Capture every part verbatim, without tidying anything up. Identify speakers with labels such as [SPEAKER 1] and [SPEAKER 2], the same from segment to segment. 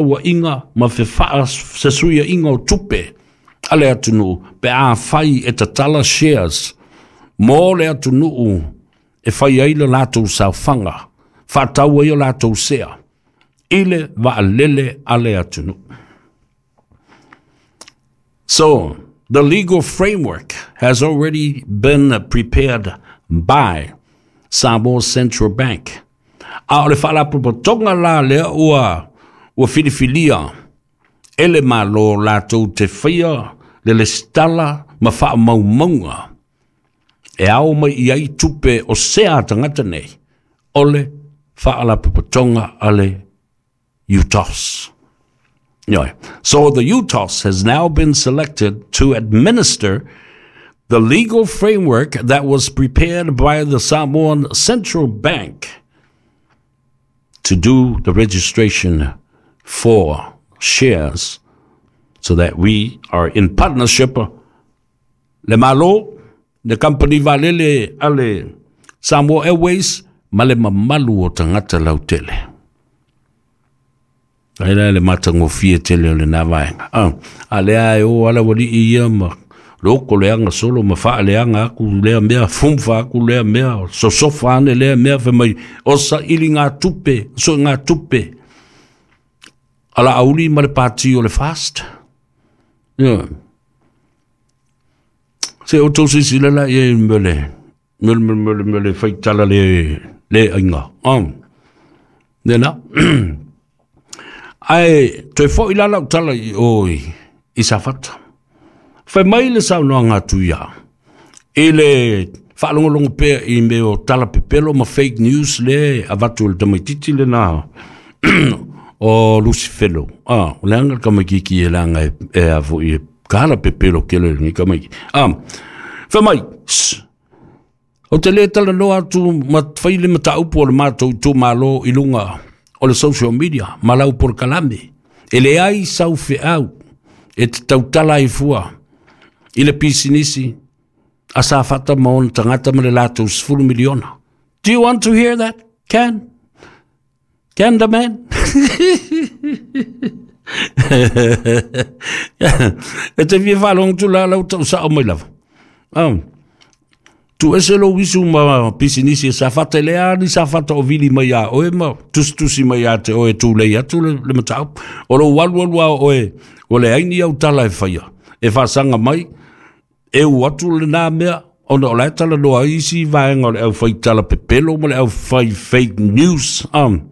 [SPEAKER 1] Inga ma fefaasuiaiga o tupe a le atunuu pe afai e tatala shares mo le atunuu e fai ai le latou saofaga faatau ai o latou sea i le vaalele a le atunuu. So, the legal framework has already been prepared by Samoa Central Bank. A o le faalapotopotoga la lea ua ua filifilia e le Malo latou te faia le lesitala ma faamaumauga e ao mai i ai tupe o sea a tagata nei o le faalapotopotoga a le U T O S. Yeah. So the U T O S has now been selected to administer the legal framework that was prepared by the Samoan Central Bank to do the registration for shares so that we are in partnership le Malo, le company vaalele a le Samoa Airways ma le mamalu o tagata lautele. Ai la le matagofie tele o lena vaega. Ah, a lea e o ala ualii ia ma loko leaga solo ma faaleaga aku lea mea, fumfa aku lea mea, sosofa ane lea mea fai mai o sailiga tupe, soegatupe a Laauli ma le pati o le FAST. Yeah. Se o tau sisila la ia mele, mele, mele, mele, mele, faitala le, le aiga. Um. Nena. Ae, toe foi la lau tala i o i, i Safata. Fai mai le saunoaga atu ia i le faalogologo pea i mea o tala pepelo ma fake news le avatu e le tamaititi lena o Lucifelo. Ah, o leaga le tamaititi e leaga e, e a foi e kala pepelo kele ni tamaiti. Ah, fai mai, ou te le talanoa atu ma fai le mataupu o le matou itumalo i luga o le social media ma lau polokalame. E leai sau feau e te tautala ai fua i le pisinisi a Safata ma ona tagata ma le latou sefulu miliona. Do you want to hear that? Can? Can the man? E te fia faalogo atu la lau tau sao mai lava. Um, tu ese lou uisu ma pisinisi e Safata e lea ni Safata o vili mai a oe ma tusitusi mai a te oe tulei atu le, le mataupu. O lou alu alu a oe, o le aini au tala e faia. E faasaga mai, e u atu lena mea, ona o la e talanoa ai isi vaega o le au fai tala pepelo ma le au fai fake news. Um,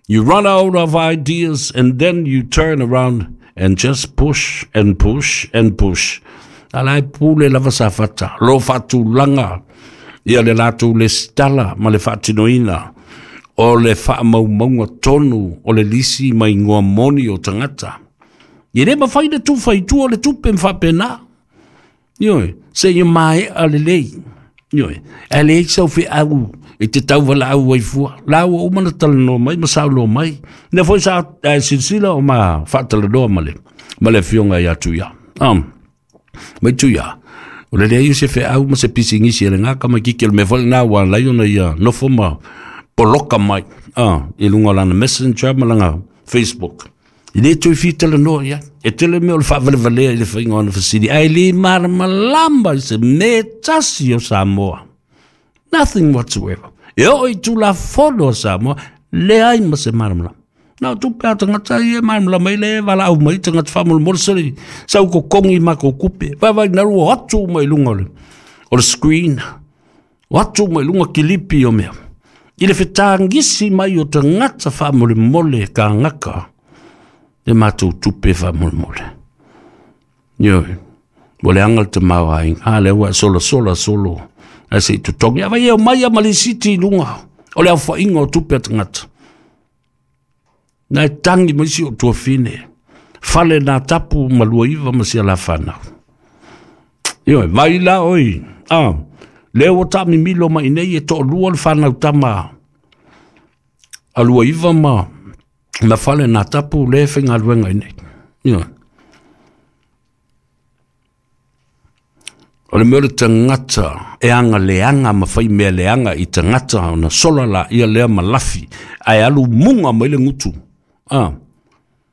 [SPEAKER 1] you run out of ideas and then you turn around and just push and push and push. Ala e pule lava Safata, lo faatulaga ia le latou lesitala ma le faatinoina o le faamaumauga tonu o le lisi ma igoa moni o tagata. E le mafai le tufa i tua o le tupe ma faapena. Ioe, seia maea lelei. Ioe, ae leai sau feau e te tauvalaau ai fua. La ua uma na talanoa mai ma saunoa mai. Lea foi sa ae silasila o ma faatalanoa ma le, ma le afioga ia Tuia. Um, mai Tuia, o le leai o se feau ma se pisinisi e le gaka mai kiki o le mea foi lena ua alai ona ia nofo ma poloka mai ah, i luga o lana Messenger ma lana Facebook. E le toe fia talanoa i ai. E tele mea o le faavalevalea i le faiga o ana fesili, ae le malamalama i se mea tasi o Samoa. Nothing whatsoever. E oo i Tulafono a Samoa, leai ma se malamalama. Na o tupe a tagata ia e malamalama ai le valaau mai tagata faamolemole seli sau kokogi i matou tupe. Vaivai nalu o atu mai luga o le, o le screen. O atu mai luga kilipi o mea. I le fetagisi mai o tagata faamolemole kagaka le matou tupe faamolemole. Ioe, ua leaga le tamaoaiga. A lea ua e solasola solo ae se i totogi. A vai e omai a ma lisiti i luga o le aofaiga o tupe a tagata. Na e tagi mai si ou tuafine. Fale na tapu ma lua iva ma sia la whanau. Ioe, vai la oi. Ah, lea ua taamimilo mai nei e toalua le fanau tama a lua iva ma ma fale na tapu le faigaluega i nei. Ioe. O le mea o le tagata e agaleaga ma fai mea leaga i tagata ona sola laia lea ma lafi ae alu muga mai le gutu. Ah,